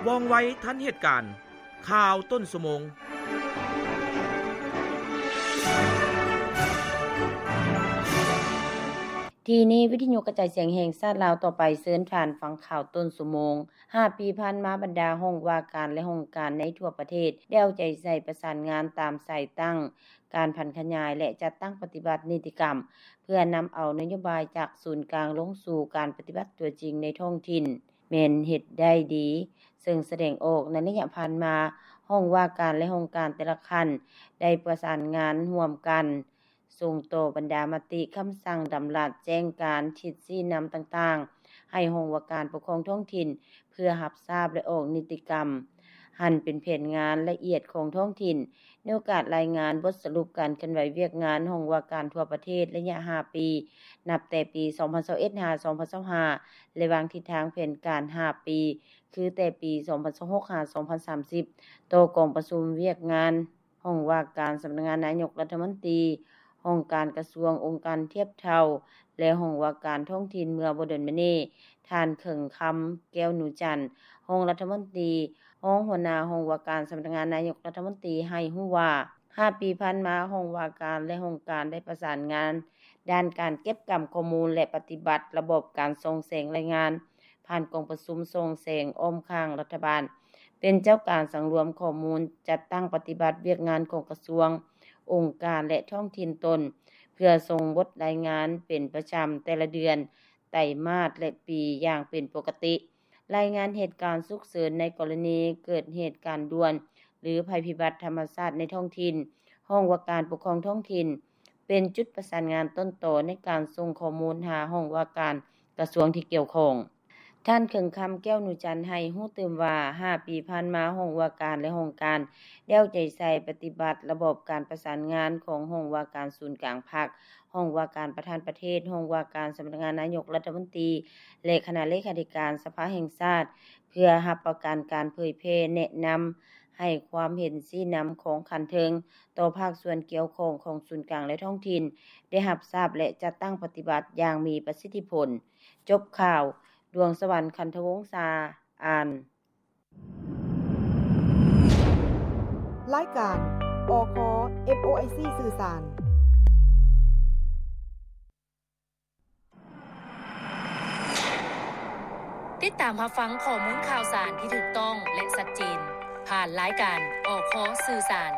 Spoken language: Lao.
ວ່ອງໄວທັນເຫດການ. ຂ່າວຕົ້ນຊົ່ວໂມງ. ທີ່ນີ້ ວິທະຍຸກະຈາຍສຽງແຫ່ງຊາດລາວ. ຕໍ່ໄປເຊີນທ່ານຟັງຂ່າວຕົ້ນຊົ່ວໂມງ. ຫ້າປີຜ່ານມາ, ບັນດາຫ້ອງວ່າການ ແລະ ຫ້ອງການໃນທົ່ວປະເທດ ໄດ້ເອົາໃຈໃສ່ປະສານງານຕາມສາຍຕັ້ງ, ການຜັນຂະຫຍາຍ ແລະ ຈັດຕັ້ງປະຕິບັດນິຕິກຳ ເພື່ອນຳເອົານະໂຍບາຍຈາກສູນກາງລົງສູ່ການປະຕິບັດຕົວຈິງໃນທ້ອງຖິ່ນ ແມ່ນເຮັດໄດ້ດີ, ເຊິ່ງສະແດງອອກໃນໄລຍະຜ່ານມາ, ຫ້ອງວ່າການ ແລະ ຫ້ອງການແຕ່ລະຂັ້ນ ໄດ້ປະສານງານຮ່ວມກັນ ສົ່ງຕໍ່ບັນດາມະຕິ, ຄຳສັ່ງ, ດຳລັດ, ແຈ້ງການ, ທິດຊີ້ນຳຕ່າງໆ ໃຫ້ຫ້ອງວ່າການປົກຄອງທ້ອງຖິ່ນ ເພື່ອຮັບຊາບ ແລະ ອອກນິຕິກຳ ຫັ້ນເປັນແຜນງານລະອຽດຂອງທ້ອງຖິ່ນ. ໃນໂອກາດລາຍງານບົດສະຫຼຸບການເຄື່ອນໄຫວວຽກງານຫ້ອງວ່າການທົ່ວປະເທດໄລຍະຫ້າປີ, ນັບແຕ່ປີສອງພັນຊາວເອັດ ຫາ ສອງພັນຊາວຫ້າ ແລະ ວາງທິດທາງແຜນການຫ້າປີ, ຄືແຕ່ປີສອງພັນຊາວຫົກ ຫາ ສອງພັນສາມສິບ ຕໍ່ກອງປະຊຸມວຽກງານ ຫ້ອງວ່າການສຳນັກງານນາຍົກລັດຖະມົນຕີ, ຫ້ອງການກະຊວງ, ອົງການທຽບເທົ່າ ແລະ ຫ້ອງວ່າການທ້ອງຖິ່ນເມື່ອບໍ່ດົນມານີ້, ທ່ານ ເຂີງຄຳ ແກ້ວນູຈັນ ຮອງລັດຖະມົນຕີ, ຮອງຫົວໜ້າຫ້ອງວ່າການສຳນັກງານນາຍົກລັດຖະມົນຕີ ໃຫ້ຮູ້ວ່າ ຫ້າປີຜ່ານມາ, ຫ້ອງວ່າການ ແລະ ຫ້ອງການໄດ້ປະສານງານດ້ານການເກັບກຳຂໍ້ມູນ ແລະ ປະຕິບັດລະບອບການສ່ອງແສງລາຍງານ ຜ່ານກອງປະຊຸມສ່ອງແສງອ້ອມຂ້າງລັດຖະບານ, ເປັນເຈົ້າການສັງລວມຂໍ້ມູນ, ຈັດຕັ້ງປະຕິບັດວຽກງານຂອງກະຊວງ, ອົງການ ແລະ ທ້ອງຖິ່ນຕົນ, ເພື່ອສົ່ງບົດລາຍງານເປັນປະຈຳແຕ່ລະເດືອນ, ໄຕມາດ ແລະ ປີຢ່າງເປັນປົກກະຕິ. ລາຍງານເຫດການສຸກເສີນໃນກໍລະນີເກີດເຫດການດ່ວນ ຫຼື ໄພພິບັດທຳມະຊາດໃນທ້ອງຖິ່ນ, ຫ້ອງວ່າການປົກຄອງທ້ອງຖິ່ນ ເປັນຈຸດປະສານງານຕົ້ນຕໍໃນການສົ່ງຂໍ້ມູນຫາຫ້ອງວ່າການກະຊວງທີ່ກ່ຽວຂ້ອງ. ທ່ານ ເຂີງຄຳ ແກ້ວນູຈັນ ໃຫ້ຮູ້ຕື່ມວ່າ ຫ້າປີຜ່ານມາ, ຫ້ອງວ່າການ ແລະ ຫ້ອງການໄດ້ເອົາໃຈໃສ່ປະຕິບັດລະບອບການປະສານງານຂອງຫ້ອງວ່າການສູນກາງພັກ, ຫ້ອງວ່າການປະທານປະເທດ, ຫ້ອງວ່າການສຳນັກງານນາຍົກລັດຖະມົນຕີ ແລະ ຄະນະເລຂາທິການສະພາແຫ່ງຊາດ ເພື່ອຮັບປະກັນການເຜີຍແຜ່ແນະນຳ ໃຫ້ຄວາມເຫັນຊີ້ນຳຂອງຂັ້ນເທິງຕໍ່ພາກສ່ວນກ່ຽວຂ້ອງຂອງສູນກາງ ແລະ ທ້ອງຖິ່ນ ໄດ້ຮັບຊາບ ແລະ ຈັດຕັ້ງປະຕິບັດຢ່າງມີປະສິດທິຜົນ. ຈົບຂ່າວ. ດວງສະຫວັນ ຄັນທະວົງສາ ອ່ານ. ລາຍການ ອຄ ເອັຟໂອໄອຊີ ສື່ສານ. ຕິດຕາມຮັບຟັງຂໍ້ມູນຂ່າວສານທີ່ຖືກຕ້ອງ ແລະ ຊັດເຈນ ຜ່ານລາຍການ ອຄ ສື່ສານ.